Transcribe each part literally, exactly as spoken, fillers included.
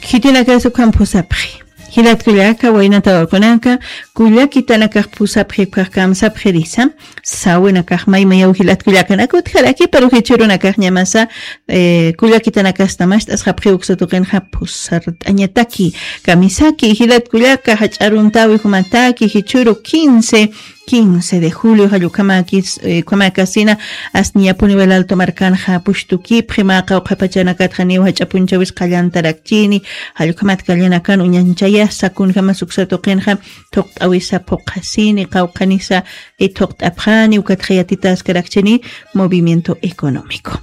Khitinakasa ukham phusapxi. Jilatkullaka, waynata wawakunaka, kullakitanakax phusapxi, ukkhax kamsapxirisa. Sawinakax maymayaw jilatkullakanaka utjaraki, pero jichhürunakax ñamasa, eh, kullakitanakasta mast'asxapxi uksa tuqinxa phusart'añataki. Kamisaki, jilatkullaka, jach'aruntawi jumataki, jichhüru quince, quince de julio, jall ukhamakis, eh, ukhamakasina, asniñapuni Wal Alto markanxa pushtukipxi, mä qawqha pachanakatxa niw jach'a punchawis qallantarakchini, jall ukhamat kallanakan uñanchayasa, kunjamas uksa tuqinxa thuqt'awisa phuqhasini, qawqhanisa, eh, thuqt'apxani, ukatxa yatitaskarakchini movimiento económico.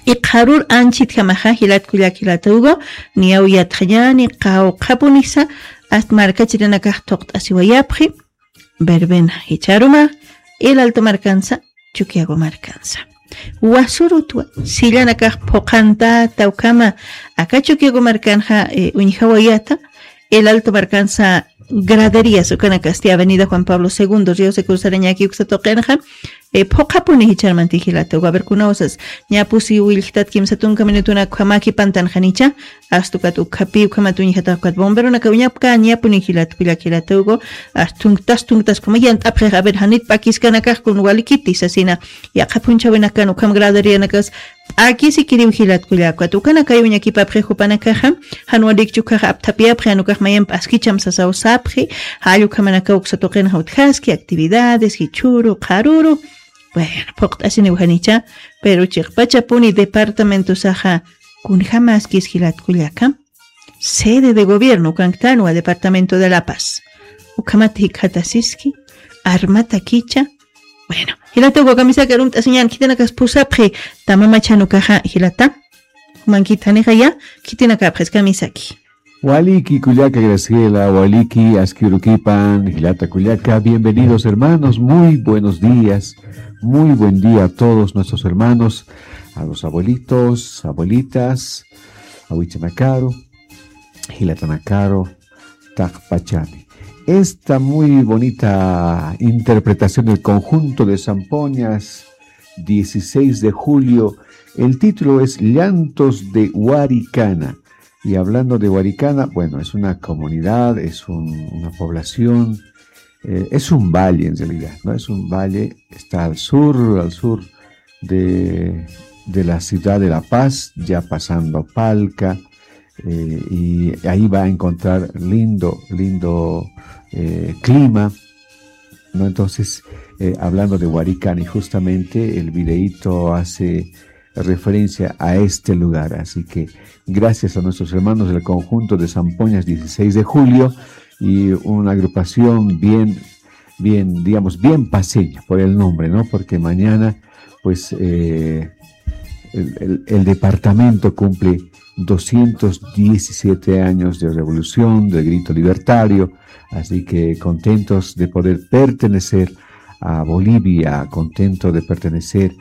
Iqharur anchhitjamaxa, jilatkullak jilata Hugo, niyaw yatxañani, qawqhapunisa, ast markachirinakax thuqt'asiwayapxi, verbena jichharuma, El Alto markansa, Chukiyawu markansa. Wasurutwa, sillanakax phuqhantata ukhama, aka Chukiyawu markanxa, eh, uñjawayata, El Alto markansa, graderías, ukanakasti Avenida Juan Pablo segundo, Río Seco sarañaki uksa tuqinxa, eh, phuqhapuni jichharmanti jilata Hugo, a ver, kunawsas, ñapusi willjtat kimsa tunka minutunak ukhamaki pantanxanicha, astukat ukhapi, ukhamat uñjatax ukat bomberonaka uñapka, ñapuni jilat, kullak jilata Hugo, astuntas, tuntas, ukhama yant'apxix, a ver, janit p'akiskanakax kun walikiti sasina, yaqha phunchhawinakan ukham graderíanakas, p'akisikiriw jilatkullaka, ukanakay uñakipapxi jupanakaxa, jan walikchukhaxa apthapiyapxi, jan ukax mayan p'askicham sasaw sapxi, jall ukhamanakaw uksa tuqinxa utjaski, actividades, jichhüru, qharüru. Bueno, phuqt'asiniw janicha, pero chiqpachapuni departamentosaxa, kunjamaskis jilatkullaka, sede de gobierno ukanktanwa, departamento de La Paz. Ukhamat jikxatasiski, armatakicha. Bueno, jilata Hugo, kamisaki arumt'asiñan, khitinakas phusapxi, tamamachan ukaxa, jilata. Jumankit janixaya, khitinakapxis, kamisaki. Waliki kullaka Graciela, waliki aski urukipan, jilata kullaka, bienvenidos hermanos, muy buenos días, muy buen día a todos nuestros hermanos, a los abuelitos, abuelitas, awichanakaru, jilatanakaru, taqpachani. Esta muy bonita interpretación del conjunto de zampoñas, dieciséis de julio, el título es Llantos de Huaricana. Y hablando de Huaricana, bueno, es una comunidad, es un, una población, eh, es un valle en realidad, ¿no? Es un valle, está al sur, al sur de, de la ciudad de La Paz, ya pasando Palca, eh, y ahí va a encontrar lindo, lindo, eh, clima, ¿no? Entonces, eh, hablando de Huaricana, y justamente el videíto hace referencia a este lugar. Así que gracias a nuestros hermanos del conjunto de Zampoñas dieciséis de julio y una agrupación bien, bien, digamos, bien paceña por el nombre, ¿no? Porque mañana, pues, eh, el, el- el departamento cumple doscientos diecisiete años de revolución, del grito libertario, así que contentos de poder pertenecer a Bolivia, contento de pertenecer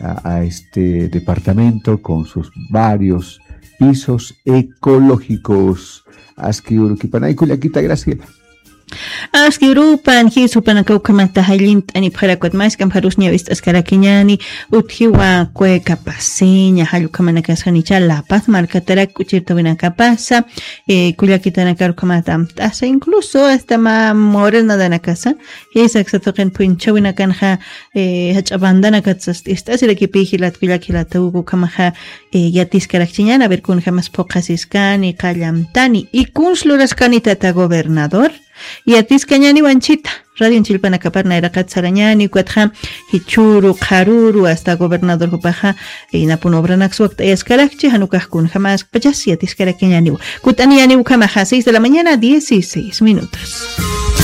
a, a este departamento con sus varios pisos ecológicos. Aski urukipanay kullakita Graciela. Aski urupan, jisupanaka ukhamata jallint'anipxarakwat, maskam jarus ñawist'askarakiñani, utjiwa cueca paseña, jall ukhamanakasanicha La Paz markatarak k'uchirtawinakapasa, eh, kullakitanakar ukhamata amt'asa, incluso hasta ma morenadanakasa, jisa uksa tuqin phunchhawinakanxa, eh, jach'a bandanakat sast'ist'asirakipï jilat kullak jilata Hugo, ukhamaxa, eh, yatiskarakchiñan, a ver, kunjamas phuqhasiskani, qallamtani, y kuns luraskanitata gobernador, yatiskañaniw anchhita, radion chillpanakapar nayraqat sarañani, ukatxa, jichhüru, qharüru, hasta gobernador jupaxa, eh, inapun obranaks wakt'ayaskarakchi, jan ukax kunjamas pachas yatiskarakiñaniw. Kut'aniñaniw ukhamaxa, seis de la mañana, dieciséis minutos.